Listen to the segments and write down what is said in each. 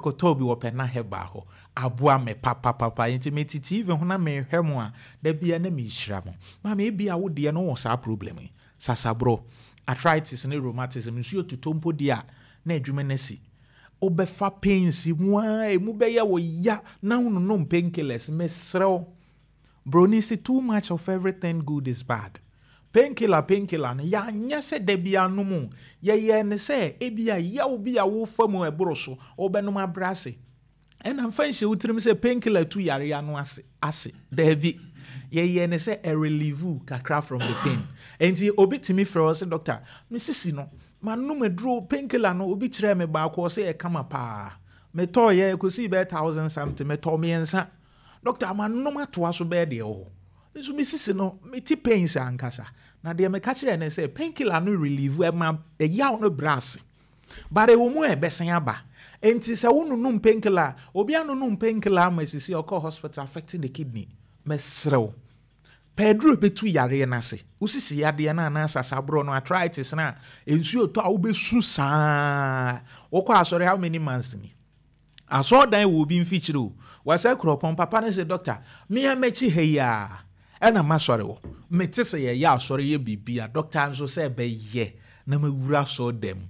Kɔtɔɔ bi wɔ Pɛna Herbal hɔ. Aboa me papapapa. Nti mete TV ho na mehwɛ mo a, da biara na mehyira mo. Maame, ebia wo deɛ no wɔ saa problem yi. Sasaborɔ, arthritis ne rheumatism, nsuo totɔ mpo deɛ a, na adwuma no asi. Wobɛfa pains mu ara, emu bɛyɛ wo ya na wononom painkillers. Mesrɛ wo, Broni se too much of everything good is bad. Painkiller painkiller no, yɛanyɛ sɛ da biara nom o. Yɛyɛɛ no sɛ ebia yaw bi a wofa mu a ɛboro so, wobɛnom abrɛ ase. Ɛna mfa nhyɛ wo tirim sɛ painkiller tu yareɛ ano ase ase. Daabi. Yɛyɛɛ no sɛ ɛ-relieve wo kakra from the pain. Enti obi tumi frɛ wo sɛ doctor, me sisi no, manom aduro, painkiller no, obi kyerɛɛ me baako, ɔse ɛyɛ kama paa. Metɔeɛ, ɛkɔsii bɛyɛ thousand something, metɔɔ mmiɛnsa. Doctor, manom atoa so bɛyɛ deɛ ɛwɔ hɔ. Nso me sisi no, mete pains ankasa. Na deɛ meka kyerɛɛ no sɛ, painkiller no relieve, ɛma ɛyaw no brɛ ase. But ɛwɔ mu a ɛbɛsan aba. Enti sɛ wononom painkiller a, obi anonom painkiller ama sisi a ɔkɔ hospital affecting the kidney. Mesrɛ wo, pɛ aduro a ɛbɛtu yareɛ no ase. Wo sisi yadeɛ no anaa sasaborɔ no, arthritis no a, nsuo tɔ a wobɛsu saa. Wokɔ asɔre how many months ni? Asɔrdan wɔ obi mfikyiri o. Wasa kuropɔn papa no se doctor me a m'akyi ha yi aa ɛna m'asɔre wɔ. Mete sɛ yɛyɛ asɔre yɛ biribi a doctor nso sɛ ɛbɛyɛ na mawura asɔrdan mu.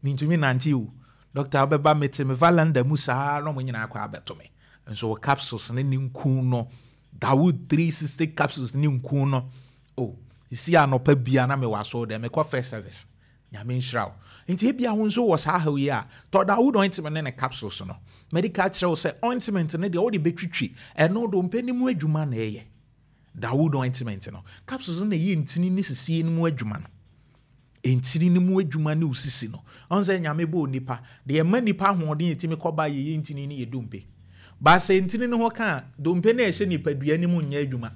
Mentumi nante o. Doctor wobɛba mete me valanda mu saa na ɔmo nyinaa akɔ abɛto me. Nso wɔ capsules ne ne nku no Dawood 360 capsules ne nku no o. Esi anɔpa bia na mewɔ asɔrdan mekɔ first service. Nyame nhyira wo. Nti ebia wo nso wɔ saa haw yi a, tɔ Dawood ointment ne ne capsules no. Mɛdi ka akyerɛ wo sɛ ointment no deɛ wode bɛtwitwi, ɛno dompe no mu adwuma na ɛyɛ. Dawood ointment no. Capsules no na ɛyɛ ntini ne sisie no mu adwuma no. Ntini no mu adwuma ne wo sisi no. Ɔn sɛ Nyame bɔɔ nipa, deɛ ɛma nipa ahoɔden a ɛtumi kɔ ba yɛyɛ ntini ne yɛ dompe. But sɛ ntini no ho ka a, dompe no a ɛhyɛ nipadua no mu nyɛ adwuma.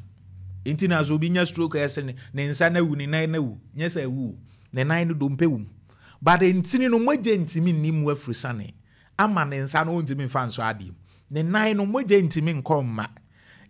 Nti na sɛ obi nya stroke a ɛsɛ ne nsa no awu, ne nan no awu, nyɛ sɛ awu o. Ne nan no dompe wom. But ntini no mogya ntumi nni mu afurusane ama ne nsa no ɔntumi mfa nsɔ adeɛ mu. Ne nan no mogya ntumi nkɔ mma.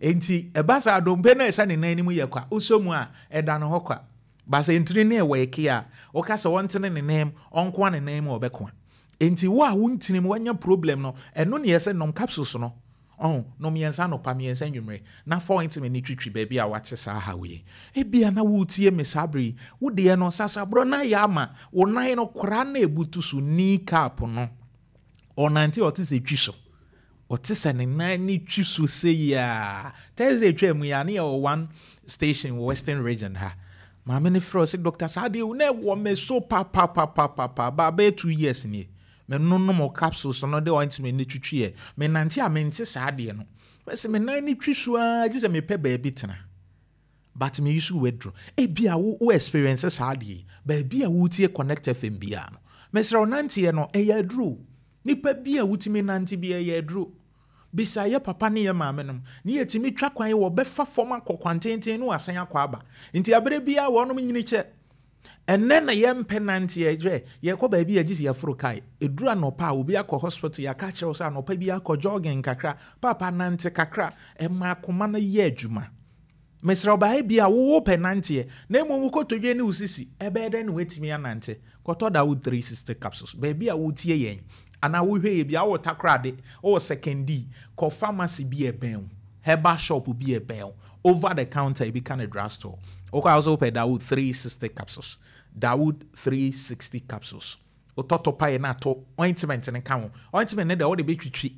Enti ɛba saa dompe no a ɛhyɛ ne nan no mu yɛ kwa. Wosɔ mu a, ɛda ne hɔ kwa. But sɛ ntini no ɛwɛke a, woka sɛ ɔntene ne nan mu, ɔnkoa ne nan mu a ɔbɛkoa. Enti wo a wo ntini mu wanya problem no, ɛno ne ɛsɛ nom capsules no. Ɔho, nom mmiɛnsa anɔpa, mmiɛnsa anwummere, na fa ointment no twitwi baabi a woate saa haw yi. Ebia na woretie me saa bere yi, wo deɛ no, sasaborɔ no ayɛ ama wo nan no koraa na ebutu so, knee cap no. Ɔnante a ɔte sɛ twi so. Ɔte sɛ ne nan no twi so sei ara. Thursday twaa mu yi a, na yɛwɔ one station wɔ Western Region ha. Maame no frɛ ɔse, Doctor, saa adeɛ yi na ɛwɔ me so papapapapa, bɛyɛ 2 years nie. Menonom capsules no de ointment no twitwi ɛ. Menante a mente saa adeɛ no. Bɛsɛ me nan no twi so ara gye sɛ mepɛ baabi tena. But me use waduro. Ebia wo experience saa adeɛ yi. Baabi a wotie Connect FM biara no. Mesrɛ wo nanteɛ no ɛyɛ aduro. Nipa bi a wotumi nante bi ɛyɛ aduro. Bisa yɛ papa ne yɛ maame nom. Ne yɛtumi twa kwan wɔ bɛfa fam akɔ kwantenten ne wasan akɔ aba. Nti abere biara wɔnom nyini kyɛ. Ɛnɛ na yɛmpɛ nanteɛ hwɛ yɛkɔ baabi a gye sɛ yɛforo kae. Ɛduru anɔpa a obi akɔ hospital yɛaka kyerɛ wo sɛ anɔpa bi akɔ jogging kakra. Papa nante kakra. Ɛma akoma no yɛ adwuma. Mesrɛ wo baa bi a wowɔ pɛ nanteɛ na mmom wokɔtɔdwe ne wo sisi ɛbɛyɛ dɛn na woatumi anante. Kɔtɔ Dawood 360 capsules. Baabi a wotie yɛn anaa wohwɛ yɛ bi a wowɔ Takoradi, wowɔ Sekondi, kɔ pharmacy bi a ɛbɛn wo, herbal shop bi a ɛbɛn wo, over the counter ebi ka ne drugstore. Wokɔ a wo sɛ wopɛ Dawood 360 capsules. Dawood 360 capsules. Wotɔtɔ paeɛ na atɔ ointment no ka ho. Ointment no deɛ wode bɛtwitwi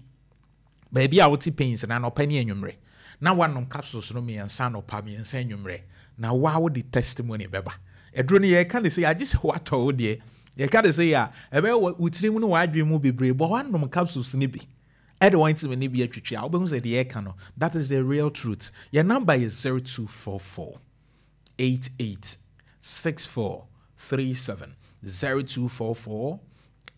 baabi a wote pains na anɔpa ne anwummerɛ na wanom capsules no mmiɛnsa anɔpa mmiɛnsa anwummerɛ na waa wode testimony bɛba. Ɛduro no yɛka ne sɛ yɛagye sɛ woatɔ wo deɛ yɛka ne sɛ yɛ a ɛbɛyɛ wo tirim ne w'adwene mu bebree bɔ wanom capsules no bi ɛde ointment no bi atwitwi a wobɛhu sɛ deɛ yɛka no, that is the real truth. Yɛn number yɛ 0244 88 64 37, 0244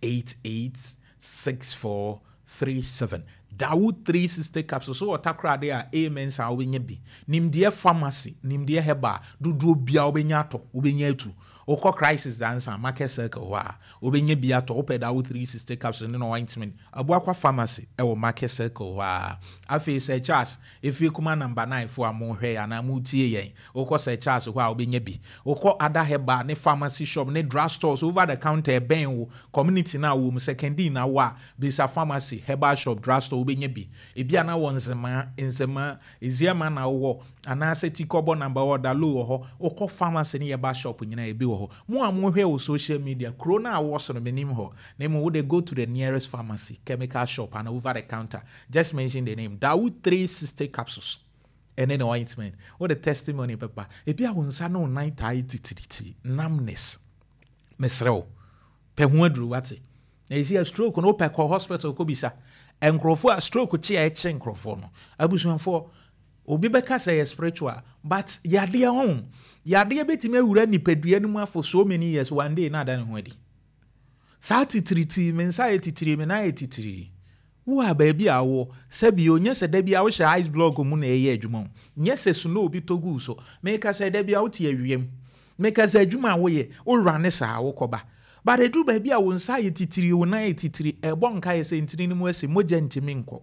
88 64 37. Dawood 360 capsules so wɔ Takoradi a amen saa wobɛnya bi. Nimdeɛ Pharmacy, Nimdeɛ Herbal dodoɔ bia wobɛnya atɔ, wobɛnya atu. Wokɔ Crisis Dansa Market Circle hɔ a, wobɛnya bi atɔ. Wopɛ Dawo 360 capsule ne no ointment, Abuakwa Pharmacy ɛwɔ Market Circle hɔ a. Afei Sir Charles, Efie Kuma Number 9 fo a mohwɛ yɛn anaa motie yɛn, wokɔ Sir Charles hɔ a wobɛnya bi. Wokɔ ada herbal ne pharmacy shop ne drug stores over the counter ɛbɛn wo community no a wɔ mu, Sekondi na wɔ a, bisa pharmacy, herbal shop, drug store, wobɛnya bi. Ebi a na wɔ Nzemaa, Nzemaa, Eziama na wowɔ anaasɛ Tikɔbɔ number wɔ Dalo wɔ hɔ. Wokɔ pharmacy ne herbal shop nyinaa, ebi wɔ hɔ. Mo a mohwɛ wɔ social media, kuro no a wɔ so no menim hɔ na mmom wode go to the nearest pharmacy, chemical shop and over the counter, just mention the name Dawo 360 capsules ɛne ne ointment, wode testimony pɛpa. Ebi a wo nsa ne wo nan taa yɛ titiriti, numbness, mesrɛ wo, pɛ ho aduru wate. Na ɛsi a stroke no, wopɛ kɔ hospital kɔbisa nkurɔfoɔ a stroke kye a ɛkye nkurɔfoɔ no. Abusuafoɔ, obi bɛka sɛ yɛ spiritual, but yadeɛ ho yadeɛ bɛtumi awura nipadua no mu for so many years, one day na ada ne ho adi. Saa titiriti, me nsa yɛ titiri, me nan yɛ titiri, wo a baabi a wɔ sɛbi o, nyɛ sɛ da bi a wohyɛ ice block mu na ɛyɛ adwuma o, nyɛ sɛ snow bi tɔ gu so. Meka sɛ da bi a wote awiem, meka sɛ adwuma a woyɛ, wowura ne saa wokɔba, but ɛduru baabi a wo nsa yɛ titiri, wo nan yɛ titiri, ɛbɔ nka yɛ sɛ ntini no mu asi, mogya ntimi nkɔ.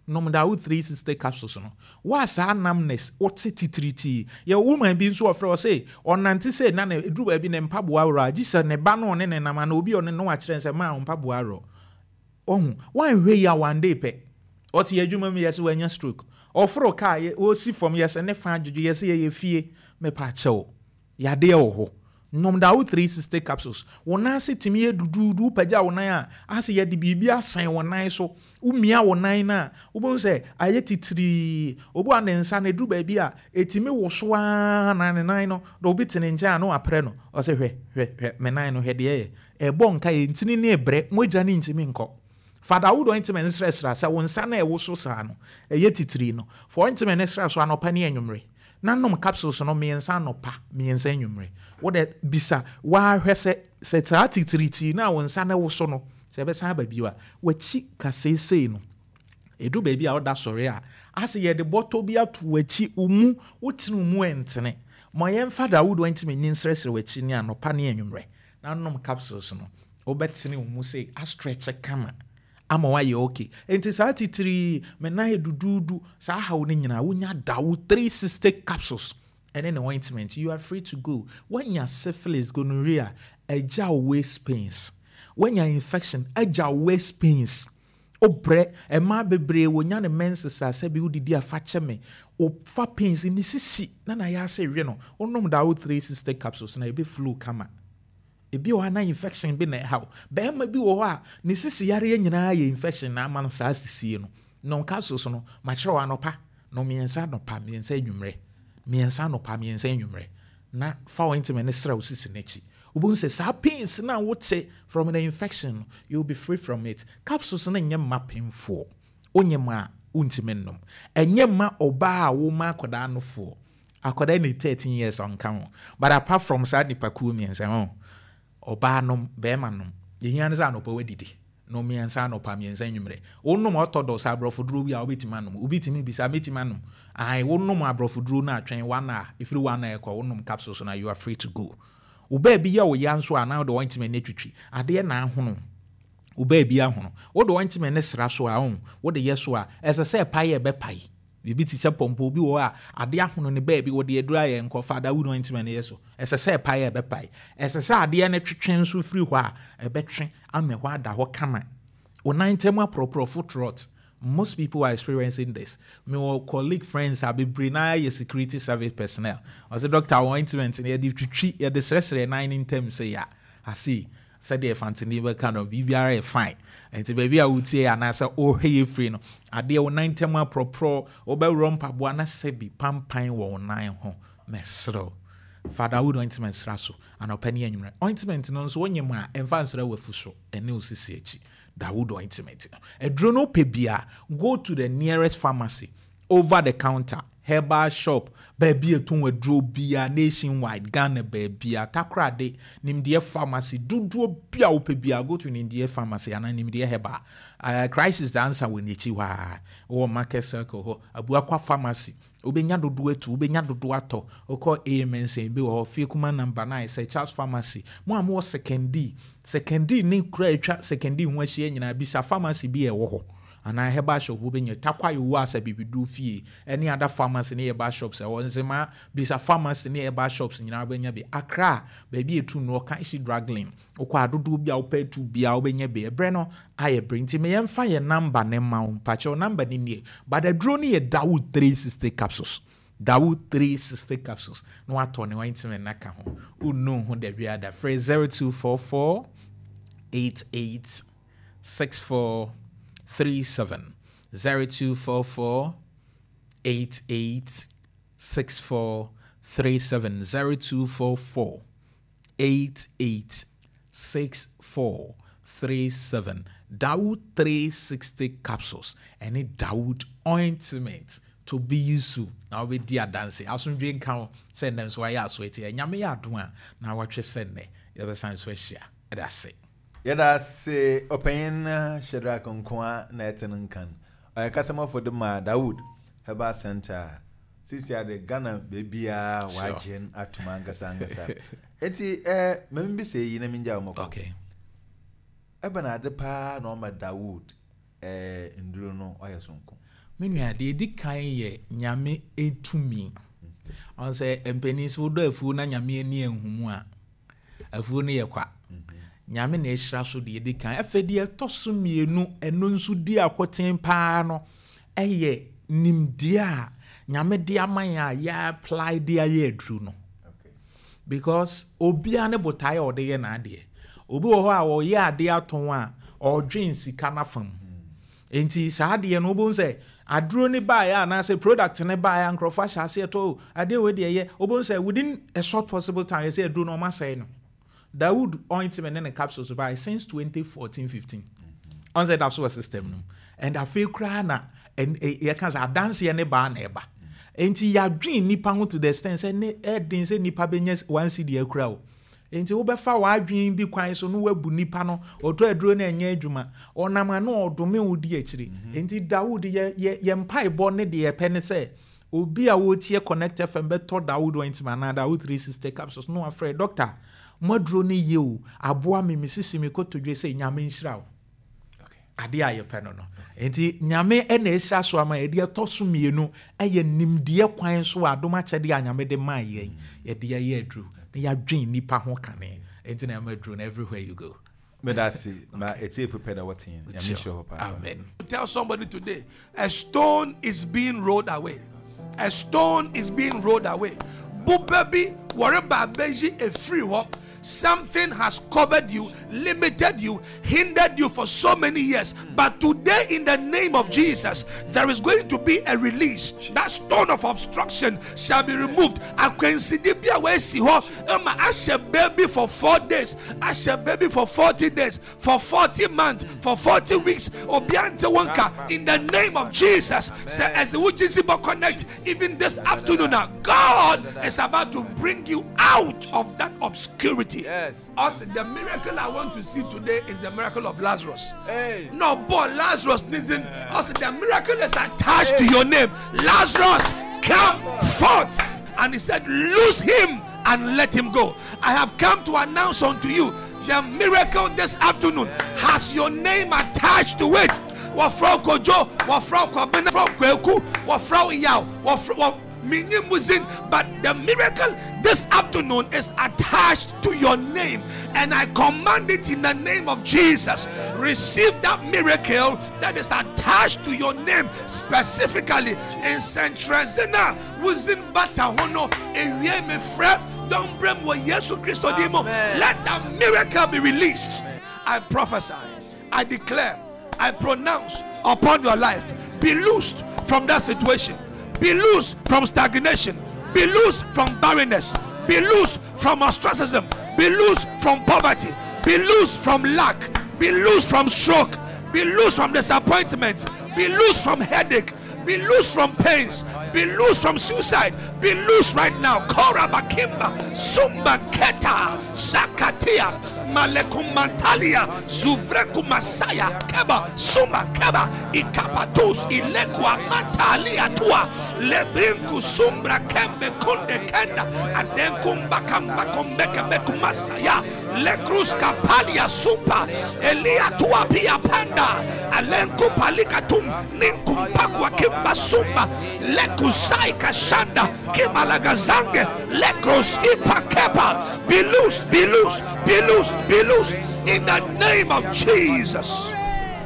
Nom Dawo 360 capsules no. Wa saa numbness, wote titiritii. Yɛ woman bi nso ɔfrɛ, ɔse ɔnante sɛ na ne ɛduru baabi ne mpaboa worɔ a, gye sɛ ne ba no ɔne ne nam ana obi ɔne no akyerɛ sɛ maa wo mpaboa worɔ. Ɔhu wanhwɛ yi a, one day pɛ ɔte adwuma mu, yɛsɛ wanya stroke. Ɔforo kaa, ɔsi fam, yɛsɛ ne fa adwodwo, yɛsɛ yɛyɛ fie. Mepa kyɛw, yadeɛ wɔ hɔ. Nom Dawo 360 capsules. Wo nan ase tumi yɛ duduudu, wopagya wo nan a, ase yɛde biribi asan wo nan so, womia wo nan no a, wobɛhu sɛ ayɛ titirii. Obi a ne nsa no ɛduru baabi a ɛtumi wo so ara na ne nan no na obi te ne nkyɛn a na waprɛ no, ɔsɛ hwɛ, hwɛ, hwɛ me nan no, hwɛ deɛ ɛyɛ. Ɛbɔ nka yɛ ntini ne ɛbrɛ, mogya ne ntumi nkɔ. Fa Dawo ointment nsrɛsrɛ sɛ wo nsa no a ɛwo so saa no ɛyɛ titiri no. Fa ointment no srɛ so anɔpa ne anwummerɛ na nom capsules no mmiɛnsa anɔpa, mmiɛnsa anwummerɛ. Wode bisa wahwɛ sɛ saa titiritii no a wo nsa no wo so no sɛ ɛbɛsan aba bio a. W'akyi kaseesei no, ɛduru baabi a woda sɔre a, ase yɛde bɔtɔ bi ato w'akyi, wo mu wotene wo mu ɛntene. Ma yɛmfa Dawo ointment ni nsrɛsrɛ w'akyi ne anɔpa ne anwummerɛ na nom capsules no. Wobɛtene wo mu sɛ astretch kama ama wayɛ okay. Nti saa titiri, me nan yɛ duduudu, saa haw no nyinaa, wonya Dawo 360 capsules ɛne ne ointment, you are free to go. Woanya syphilis, gonorrhea, agya waist pains, woanya infection, agya waist pains, wobrɛ. Mmaa bebree wonya ne menses a, sɛbi wodidi afa kyɛ me, wofa pains ne sisi na yɛ ase we no. Wonom Dawo 360 capsules na ebe flow kama. Ebi wɔ hɔ na infection bi na ɛhaw. Bɛrima bi wɔ hɔ a ne sisi yareɛ nyinaa yɛ infection na ama no saa sisie no. Nom capsules no, makyerɛw, anɔpa no mmiɛnsa anɔpa, mmiɛnsa anwummerɛ, mmiɛnsa anɔpa, mmiɛnsa anwummerɛ, na fa ointment ne srɛ wo sisi n'akyi. Wobɛhu sɛ saa pains na wote from the infection no, you will be free from it. Capsules no nyɛ mma pemfoɔ, wonyɛ ma a wontumi nnom. Ɛnyɛ mma ɔbaa a woma akwadaa nofoɔ, akwadaa ne 13 years ɔnka ho. But apart from saa nipakuo mmiɛnsa ho, ɔbaa nom, bɛrima nom, yɛhia no sɛ anɔpa wadidi no mmiɛnsa anɔpa, mmiɛnsa anwummerɛ. Wonom orthodox aborɔfo duro bi a, wobɛtumi anom. Obi tumi bisa, mɛtumi anom ae? Wonom aborɔfo duro no atwɛn one hour, ɛfiri 1 hour ɛkɔ, wonom capsules no, you are free to go. Wo baabi yɛ wo ya nso a, na wode ointment no atwitwi adeɛ na ahono wo baabi ahono. Wode ointment no sra so a, ɔn wode yɛ so a, ɛsɛ sɛ ɛpae a, ɛbɛpae. Biribi te sɛ pɔmpɔ bi wɔ hɔ a adeɛ ahono ne baabi, wɔde aduru ayɛ nkɔfa da wood ointment no yɛ so, ɛsɛ sɛ ɛpae a, ɛbɛpae. Ɛsɛ sɛ adeɛ no twetwe nso firi hɔ a, ɛbɛtwe ama hɔ ada hɔ kama. Wo nan ntam aporɔporɔ, foot rot, most people are experiencing this. Mewɔ colleague, friends a bebree na yɛ security service personnel. Ɔsɛ, "Doctor, ointment no yɛde twitwi, yɛde srɛsrɛ nan ne ntam sɛ yɛ ase sɛdeɛ fantini bɛka no, biribiara yɛ fine." Nti baabi a wotie anaasɛ wohwɛ yɛ firi no, adeɛ wo nan ntam aporɔporɔ, wobɛworɔ mpaboa na sɛbi pampan wɔ wo nan ho, mɛserɛw, fa Dawo ointment sra so anɔpa ne anwummerɛ. Ointment no nso, wonyɛ mu a, ɛmfa nsrɛ w'afu so ɛne wo sisi akyi. Dawo ointment no, aduro no, wopɛ bia, go to the nearest pharmacy, over the counter. Herbal shop, baabi a ɛtɔn aduro biara nationwide, Ghana baabiara, Takoradi, Nimdeɛ Pharmacy, dodoɔ bi a wopɛ biara, go to Nimdeɛ Pharmacy anaa Nimdeɛ Herbal. Crisis Answer wɔ n'akyi hɔ ara, wɔ Market Circle hɔ, Abuakwa Pharmacy, wobɛnya dodoɔ atu, wobɛnya dodoɔ atɔ, wokɔ AMNC ebi wɔ hɔ, Fiekuma number 9, Sir Charles Pharmacy, mo a mowɔ Sekondi, Sekondi ne kura a atwa Sekondi ho ahyia nyinaa, bisa pharmacy bi a ɛwɔ hɔ. Anaa herbal shop wobɛnya, Tarkwa Yehowa Asa Bibiduro Fie ɛne other pharmacy ne herbal shops ɛwɔ Nzema, bisa pharmacy ne herbal shops nyinaa wobɛnya bi. Accra, baabi a ɛtu no, Okaishie Drug Lane, wokɔ a dodoɔ bi a wopɛ atu biara wobɛnya bi. Ɛberɛ no ayɛ berɛ nti me yɛmfa yɛn number no mma wo, mpakyɛw number no nie, but aduro no yɛ Dawood 360 capsules, Dawood 360 capsules, na watɔ ne ointment no aka ho, wonnu ho da biara da. Frɛ 0244 88 6437 0244 88 6437 0244 88 6437 Dawood 360 capsules ɛne Dawood ointment to be used na wobɛdi adanse. Asomdwe nka wo sɛ nnɛ nso wayɛ aso ati. Nyame yɛ adom a na watwe sɛ nnɛ yɛbɛsan so ahyia. Ɛda ase. Yɛda ase Ɔpanyin Shadrack Nkoa na ɛte no nkan. Ɔyɛ kasamafo de ma Dawood Herbal Centre a seesei ara de Ghana baabiara wɔagye no atom ankasa ankasa. Enti eh, ma mimmisa eyi na mingyaa wo mɔkɔ. Okay. Ebɛn adze paa na ɔma Dawood eh, nduro no ɔyɛ soronko? Me nua, deɛ ɛdi kan yɛ Nyame tumi. Ɔn sɛ mpanin sɛ wodɔ afuo na Nyame ani anhu mu a, Afuo no yɛ kwa. Nyame na ahyira so deɛ ɛdi kan. Afei deɛ ɛtɔ so mmienu, ɛno nso di akoten paa no, ɛyɛ nimdeɛ a Nyame de ama yɛn a yɛ apply de ayɛ aduru no. Because obiara ne botaeɛ a ɔde yɛ n'adeɛ. Obi wɔ hɔ a ɔyɛ adeɛ atɔn a, ɔredwen sika no afa mu. Enti saa adeɛ no wobɛhu sɛ aduro no baeɛ anaasɛ product no baeɛ a nkurɔfoɔ ahyɛ aseɛ tɔ o adeɛ wei deɛ ɛyɛ wobɛhu sɛ within a short possible time yɛsɛ aduro no wɔn asɛe no. Dawood ointment ne ne capsules baeɛ since 2014 15 ɔn sɛ ɛda so wɔ system no mu and afei koraa na yɛka sɛ adanseɛ ne baa na ɛba. Enti yɛadwen nnipa ho to the extent sɛ ne ɛden sɛ nnipa bɛnya one cedi akura o. Enti wobɛfa w'adwene bi kwan so na woabu nipa no, ɔtɔ aduro no ɛnyɛ adwuma, ɔnam a na ɔdome wo di akyire. Enti Dawood, yɛ, yɛ, yɛn mpaebɔ ne deɛ yɛpɛ ne sɛ, obi a ɔretie Connect FM bɛtɔ Dawood ointment anaa Dawood 360 capsules na wafrɛ, Doctor, mo aduro no ye o, aboa me, me sisi, me kotodwe sei, Nyame nhyira wo. Adeɛ a yɛpɛ no no. Nti Nyame na ahyira so ama yɛn. Deɛ ɛtɔ so mmienu yɛ nimdeɛ kwan so adom akyɛdeɛ a Nyame de maa yɛn. Yɛde ayɛ aduru na yɛadwen nnipa ho kane. Nti na ɛma aduru no everywhere you go. Meda ase ma atiefo pɛ na wɔte yɛn. Nyame nhyira wo papaapa. Amen. Tell somebody today, a stone is being rolled away. A stone is being rolled away. Boba bi wɔreba abɛyi efiri hɔ. Something has covered you, limited you, hindered you for so many years. But today, in the name of Jesus, there is going to be a release. That stone of obstruction shall be removed. Akwansideɛ bi a wɔasi hɔ ama ahyɛ baby for 4 days, ahyɛ baby for 40 days, for 40 months, for 40 weeks. Obiara nte wo nka. In the name of Jesus, sɛ ɛsɛ wo gyesi bɔ connect even this afternoon, now God is about to bring you out of that obscurity. Yes. Us, the miracle I want to see today is the miracle of Lazarus. Hey. No, boy, Lazarus needs Us, the miracle is attached hey. to your name. Lazarus, come forth. And he said, loose him and let him go. I have come to announce unto you the miracle this afternoon has your name attached to it. Wɔfrɛ wo Kojo, wɔfrɛ wo Kwabena, wɔfrɛ wo Kweku, wɔfrɛ wo Yaw, wɔfrɛ wɔ menyi muzin, but the miracle this afternoon is attached to your name, and I command it in the name of Jesus. Receive that miracle that is attached to your name specifically in Centrezena wuzin bata ho no ewie me frɛ don brem wɔ Yesu Kristo din mu. Let that miracle be released. I prophesy, I declare, I pronounce upon your life, be loosed from that situation, be loosed from stagnation, be loosed from barrenness, be loosed from ostracism, be loosed from poverty, be loosed from lack, be loosed from stroke, be loosed from disappointment, be loosed from headache, Be loose from pains. Be loose from suicide. Be loose right now. Kora Bakimba, Sumba Keta, Zakatia, Malekumantalia, Zuvreku Masaya, Keba, Sumba Keba, Ikapatus, Ilekwa Matalia Tua, Lebrinku Sumbra Kembe Kunde Kenda, Adenkumba Kamba Kombeke Bekumasaya, Lekrus Kapalia Sumpa, Elia Tua Pia Panda, Alenku Palikatum, Ninkumpakwa Kimba Sumba, Lekusai Kashanda, Kimalagazange, Lekroski Pakepa. Be loose, be loose, be loose, be loose in the name of Jesus.